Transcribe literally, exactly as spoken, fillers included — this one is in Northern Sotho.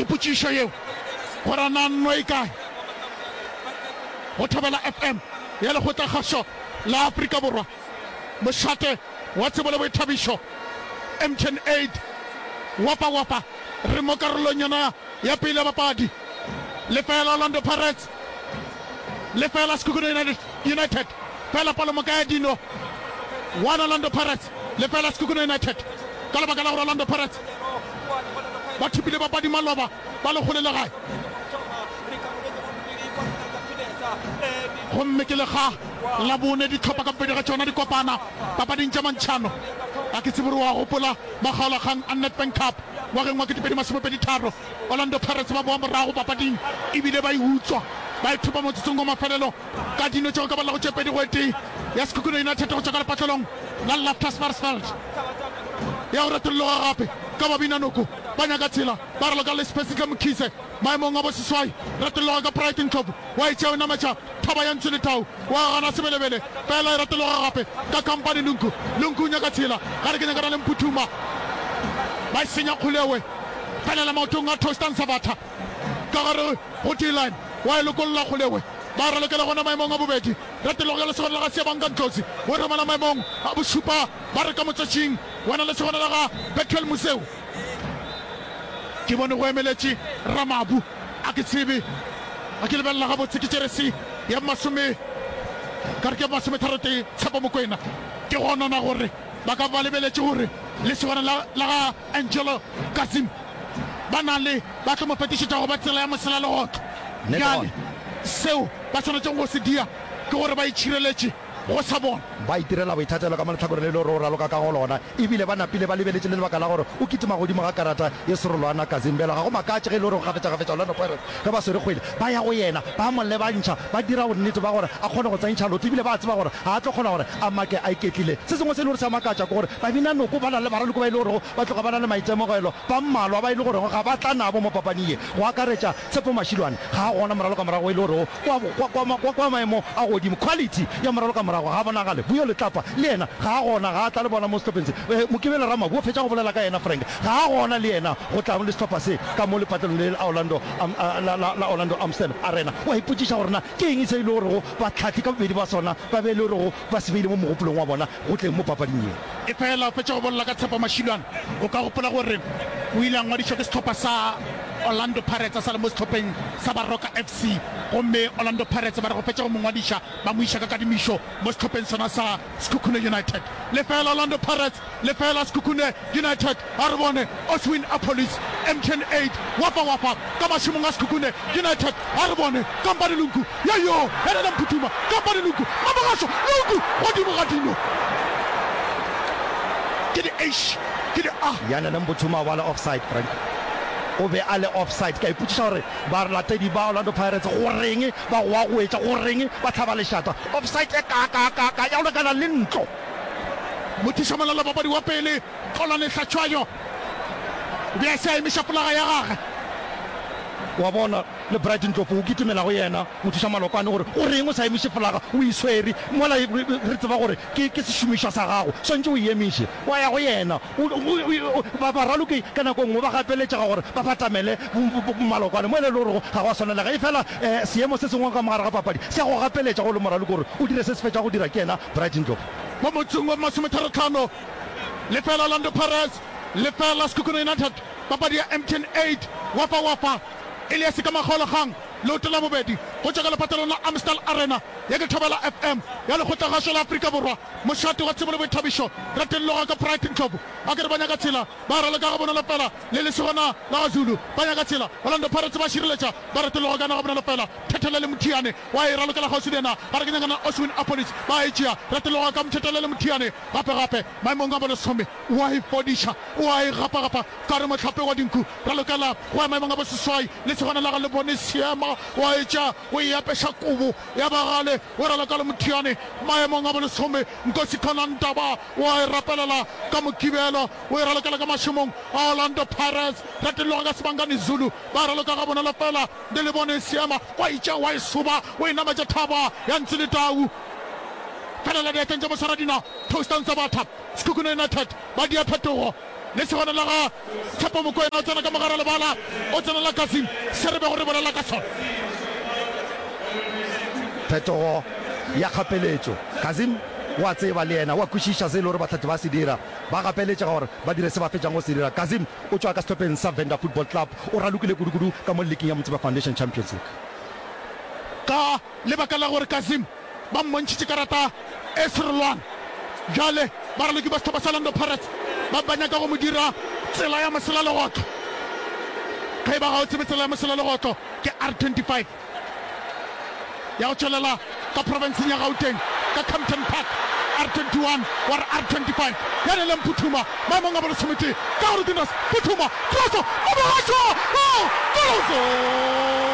Ke potšišo yeo gore na nno e kae go Thobela F M ya Lekgotlakgašo la Afrika Borwa, mošate wa tsebo le boithabišo, M T N eight, wapa wapa. Re mo karolong yona ya pele ya papadi. Lefela Orlando Pirates, lefela Sekhukhune United. Fela palomoka ya dino, one Orlando Pirates, lefela Sekhukhune United, ka lebaka la gore Orlando Pirates ba thopile papadi maloba ba le kgole le gae, gomme ke lekga la bone dihlopha ka bobedi ga tšona di kopana papading tša mantšhano. A ke tsebe gore wa gopola makgaolakgang a Nedbank Cup ngwageng wa ketepedi masomepedi tharo, Orlando Pirates ba boa morago papading ebile ba e utswa, ba e thopa motsotsong wa mafelelo ka dino tše go ka ballago tše pedi go e tee ya Sekhukhune United go tšwa ka lepatlelong la Loftus Versfeld. Ya go retolloga gape ka Babinanoko ba nyaka tsela, ba raloka le Spesihle Mkhize maemong a boseswai. Retolloga ka Pride Ndlovu wa e tšea o nametša thaba ya Ntswe Letau wa gana Sebelebele, fela e retologa gape ka Kampane Lungu. Lungu o nyaka tsela gare ke nyakana le Mputhuma, ba e senya kgolewe, felela maotong a Tostan Sabatha ka gare go D-line wa e lokolla kgolewe, ba ralokela gona maemong a bobedi. Retologo ya lesogana la ga Siabanka Ndlozi o romela maemong a bošupa, ba re ka motswetšing wena lesogana la ga Bethuel Museu. Ke bone go emeletše Ramabu, a ke tsebe, a ke lebelela gabotse ke jeresi ya masome ka re ke masometharotee Tshepo Mokwena. Ke gonona gore ba ka ba lebeletše gore lesogana la la ga Angelo Kazim ba na le ba tlo mo fetišetša go ba tsela ya mosela legotlo. Bjale seo ba swanetšego go se dia ke gore ba itšhireletše go sa bona. Ba itirela boithatelo ka mo lehlakoreng le le gore o raloka ka go lona, ebile ba napile ba lebeletše le lebaka la gore o kitima godimo ga karata ye serolwana Kazim. Bjale ga go makatše ge e le gore kgafetšakgafetša Orlando Pirates ge ba swere kgwele ba ya go yena, ba mo lebantšha, ba dira bonnete ba gore a kgone go tsentšha lotho, ebile ba a tseba gore ga a tlo kgona gore a make a iketlile. Se sengwe se e le gore se a makatša ke gore Babinanoko ba na le baraloki ba e le gorego ba tloga ba na le maitemogelo, ba mmalwa ba e le gorego ga ba tla nabo mo papading ye, go akaretša Tshepo Mashilwane, ga a gona moralokamorago e le gorego kwa, kwa, kwa, kwa, kwa maemo a godimo, quality ya moralokamorago ga a bonagale. Vuyo Letlapa le yena ga a gona, ga a tla le bona mo sehlopheng se. Eh, Mokibelo Ramabu o fetša go bolela ka yena, Frank, ga a gona le yena go tla le sehlopha se ka mo lepatlelong le la Orlando, um, la, la, la Orlando Amstel Arena. O a ipotšiša gore na ke eng se e le gorego bahlahli ka bobedi ba sona ba be e le gorego ba se beile mo mogopolong wa bona go tleng mo papading ye. Efela o fetša go bolela ka Tshepo Mashilwane, o ka gopola gore o ile a ngwadišwa ke sehlopha sa Orlando Pirates a sa le mo sehlopheng sa Baroka F C, gomme Orlando Pirates ba re go fetša go mo ngwadiša ba mo iša ka kadimišo mo sehlopheng sona sa Sekhukhune United. Lefela Orlando Pirates, lefela Sekhukhune United. A re bone Oswin Appollis, M T N eight, wapa wapa ka mašemong a Sekhukhune United. A re bone Kampane Lungu, yo yo Helele Mphuthuma, Kampane Lungu, Mamogašo Lungu godimo ga dino. Ke di H, ke di A. Yanele Mbuthuma o ba le offside, Frank. O be a le offside. Ke a ipotšiša gore balatedi ba Orlando Pirates goreng ba goagoetša, goreng ba hlaba lešata. Offside e kaakaakaaka ya go lekana le ntlo. Mothušamolelo papadi wa pele Xolani Hlatshwayo o be a se a emiša folaga ya gagwe. Wa bona, le Bright Ndlovu o kitimela go yena mothušamalokwane gore goreng o sa emiše folaga, o e swere mola re tseba gore ke ke sešomišwa sa gago, swantše o e emiše. Wa ya go yena. O, o, o, ba, baraloki ka nako e nngwe ba gapeletšega gore ba batamele malokwane mo e le gorego ga go a swanelega. Efela um seemo se sengwe ka mo gare ga papadi se a go gapeletša go le moraloki gore o dire se se fetšago go dira ke yena Bright Ndlovu. Mo motsong wa masometharotlhano, lefela Orlando Pirates, lefela Sekhukhune United, papadi ya M T N eight, wafa wafa, Elias ka makgaolakgang, leoto la bobedi go tšwa ka lepatlelong la Amstel Arena ya ke Thobela F M ya Lekgotlagašo la Afrika Borwa, mošate wa tsebo le boithabišo, Ratelloga ka Pride Ndlovu. A ke re ba nyaka tshela, ba raloka gabonolo fela le lesogana la ga Zulu. Ba nyaka tshela, Orlando Pirates ba šireletša, ba retologa ka yona gabonolo fela. Thethelele Mothiane wa e ralokela kgauswi le yena, ga re ke nyakana Oswin Appollis, ba e tšea, retologa ka Mthethelele Mothiane gape gape maemong a bolesome, wa e fodiša, wa e gapagapa ka re mohlape wa dinku, ralokela go ya maemong a boseswai, lesogana la ga Lebone Seema wa e tšea, o e apeša kobo ya bagale, o raloka le Mothiane maemong a bolesome, Nkosi Khona Ntaba wa e rapelela ka Mokibelo, o e ralokela ka mašemong a Orlando Pirates, retologa ka Sibangani Zulu, ba raloka gabonolo fela le Lebone Seema, wa e tšea wa e soba, o e nametša thaba ya Ntsi le Tau. Felela diatleng tša moswaradinao Toastan Sabatha, Sekhukhune United ba dia phetogo. Lesogana la ga Tshepo Mokoena o tsena ka mogare lebala, o tsenela Kasim, se re bego re bolela ka sona. Phetogo ya kgapeletšo. Kasim o a tseba le yena, o a kwešiša se e le gore Batlhati ba se dira. Ba gapeletšega gore ba dire se ba fetšang go se dira. Kasim o tšwa ka sehlopheng sa Venda Football Club, o ralokile kudu-kudu ka mo liking ya Motsepe Foundation Champions League. Ka lebaka la gore Kasim ba mmontšhitše karata e serolwana, bjale baraloki ba sehlopha sa Orlando Pirates ba ba nyaka go mo dira tsela ya moselalegotlo. Ge e ba ga o tsebe tsela ya moselalegotlo, ke R twenty five ya go tšwelela ka profenseng ya Gauteng ka Kempton Park, R twenty one wa re R twenty five ya Neleng Phuthuma maemong a bolesometee ka go Rudinas Phuthuma, kroso, o bogašwa, oh, kroso!